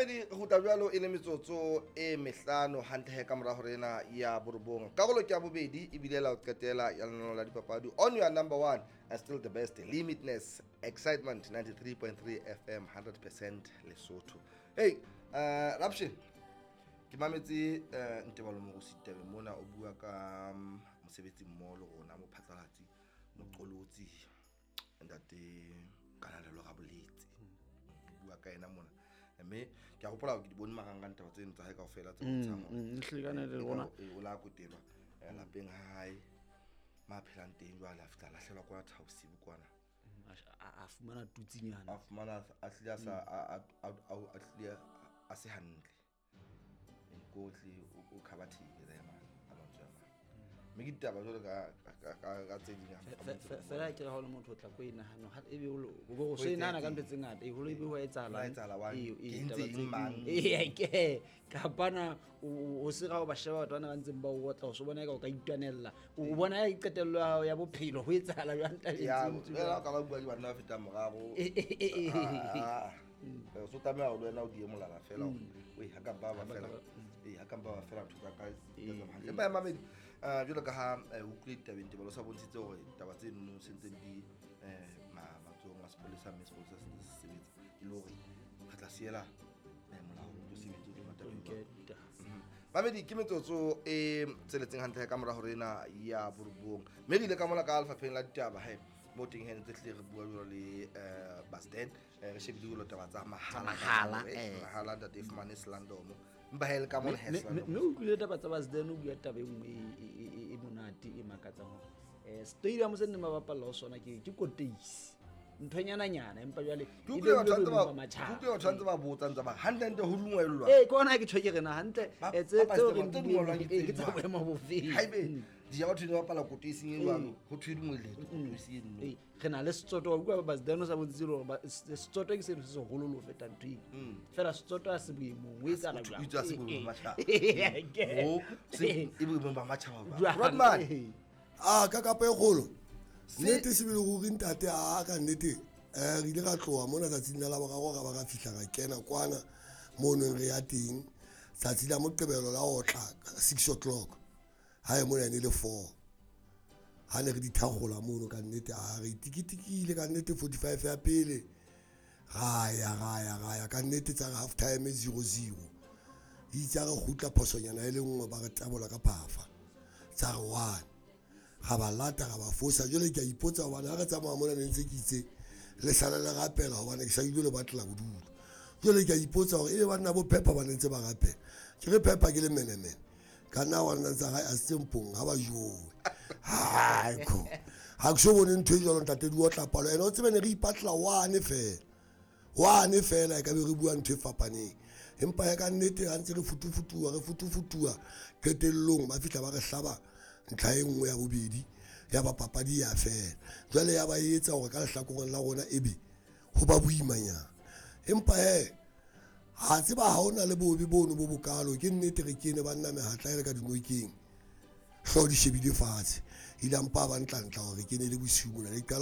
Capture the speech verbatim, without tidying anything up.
Mamedi re kgutla jwalo e le metsotso e mehlano hantle he ka mora hore ena ya borobong. Karolo ke ya bobedi ebile la ho qetela ya lenaneo la dipapadi on your number one and still the best Limitless Excitement ninety-three point three F M, one hundred percent Lesotho. Hey, uh Rapshin, ke mametse uh, Ntebalo Morusi tabeng mona o bua ka um, mosebetsi mmoho le rona, mophatlalatsi, moqolotsi, ntate Kanalelo Raboletse. O bua ka ena mona, mme ke a hopola hore ke di bone marangrang taba tseno tsa hae kaofela tse bontshang hore Mm, ehlile le rona. e o la kotelwa eh, lapeng ha hae ma phelang teng. Jwale a fihla a lahlelwa kwana thabosibu kwana. A a fumana tutsinyana. A fumana a hlile a sa a- a- a- a hlile a se hantle kotle, o khabathile le mane ka mantswe a mang, mme ke ditaba jwalo ka ka- ka ka tse ding. Fe- fe- fela ke re ha o le motho o tla ko e nahana ha ebe o lo- o bo o so e nahana ka ntho tse ngata, e holo ebe ho etsahalang. Ho etsahala wang? Ee, ee, Ke entse taba eng tse- mang? Ee, ke kapana o o se ga o ba sheba batho bana ba ntseng ba o otla, o so bona eka o ka itwanella, o bona e qetello ya hao ya bophelo ho etsahala jwang tabeng Ya. tseo tse Fela jwalo. o ka ba bua le banna ba fetang moraro. Eh, eh, eh, eh, eh. Ah, ah. So tlameha hore le wena o die molala fela hore oi ha ka mpa ba fela, ee, ha ka mpa ba fela ntho tsa ka di ka tsamaya hantle. Empa ya mamedi, eh, jwalo ka ha eh, o utlwile ditabeng, Tebalo sa bontshitse hore taba tse nono se ntseng di eh, ma- matsohong a sepolesa, mme sepolesa se ntse se sebetsa e le hore re tla siela eh, molao o tlo sebetse o tlo tabeng Nke jwalo. ditaba. Mamedi, ke metsotso e tsheletseng hantle ka mora hore ena ya borobong, mme re ile ka mola ka lefapheng la ditaba he mo teng he ntse hlile re bua jwalo le um Basten, re shebile jwalo taba tsa mahala. Mahala, Eh, eh. Mahala ntate e fumane selandomo, empa he le ka mona he Mme- mme selandomo. Mme o utlwile taba tsa Basden, o bua taba e nngwe e- e e- e monate e makatsang hore um stadium se neng ba bapalla ho sona ke ke koteisi nthonyananyana, empa jwale Ke e utlwile batho ba ntse beilwe ba- boemong ba matjhaba. Ke utlwile batho ba ntse ba botsa ntse ba hantle-hantle ho dungwellwa. Ee, ke ona ke tjho ke rena hantle Ba- eh, tse ba- tseo ba- re tse di dungwellwang bueng, ke eh, tse ke tsa jwang? boemo bofeng? Haebe di ja batho ne ba bapala koteising e jwalo, ho thwe dungwelletswe koteisi eno. Ee, re na le Setsoto wa utlwa Basden o sa bontshitse le hore ba- s- Setsoto ke seno se seholo le ho feta ntho eno, fela Setsoto ha se boemong o etsahala O jwang? itse ha se boemong ba matjhaba. Eh, ke- Ho se e boemong ba matjhaba ba. Jwang? Rodman. Eh. A ka kapa e kgolo nnete sebele ruri ntate a ka nnete um re ile ra tloha mona tsatsing la Laboraro, ra ba ra fihla ra kena kwana mo neng re ya teng tsatsi la Moqebelo la otla six o'clock ha e mona e ne le four ha ne re di thagola mono. Ka nnete a re tikitikile ka nnete forty-five ya pele, ra ya ra ya ra ya ka nnete tsa re half time zero zero. Itse ha re kgutla phosonyana e le nngwe ba re tabola ka phafa tsa re one, ra ba lata ra ba fosa. Jwale ke a ipotsa hobane ha re tsamaya mona ne ntse ke itse le sala le rapela hobane ke sa ile le batlela bodulo. Jwale ke a ipotsa hore ebe banna bo Pepper ba ne ntse ba rapela, ke re Pepper ke le menemene ka nna wa nna ntse hae a se mpong ha ba jowe haiko ha ke so bone ntho e jwalo ntate di otla palo ene o tsebe ne re ipatla one fela one fela e ka be re bua ntho e fapaneng, empa ya ka nnete ha ntse re futufutuwa re futufutuwa qetellong ba fihla ba re hlaba ntlha e nngwe ya bobedi ya ba papadi ya fela. Jwale ya ba e etsa hore ka lehlakoreng la rona ebe ho ba boimanyana, empa he ha tseba ha hona le bobe bono bo bokalo. Ke nnete re kene banna mehatla e le ka dinokeng, hlooho di shebile fatshe, ile mpa ba ntlantla hore re kene le bosiu mona le qala.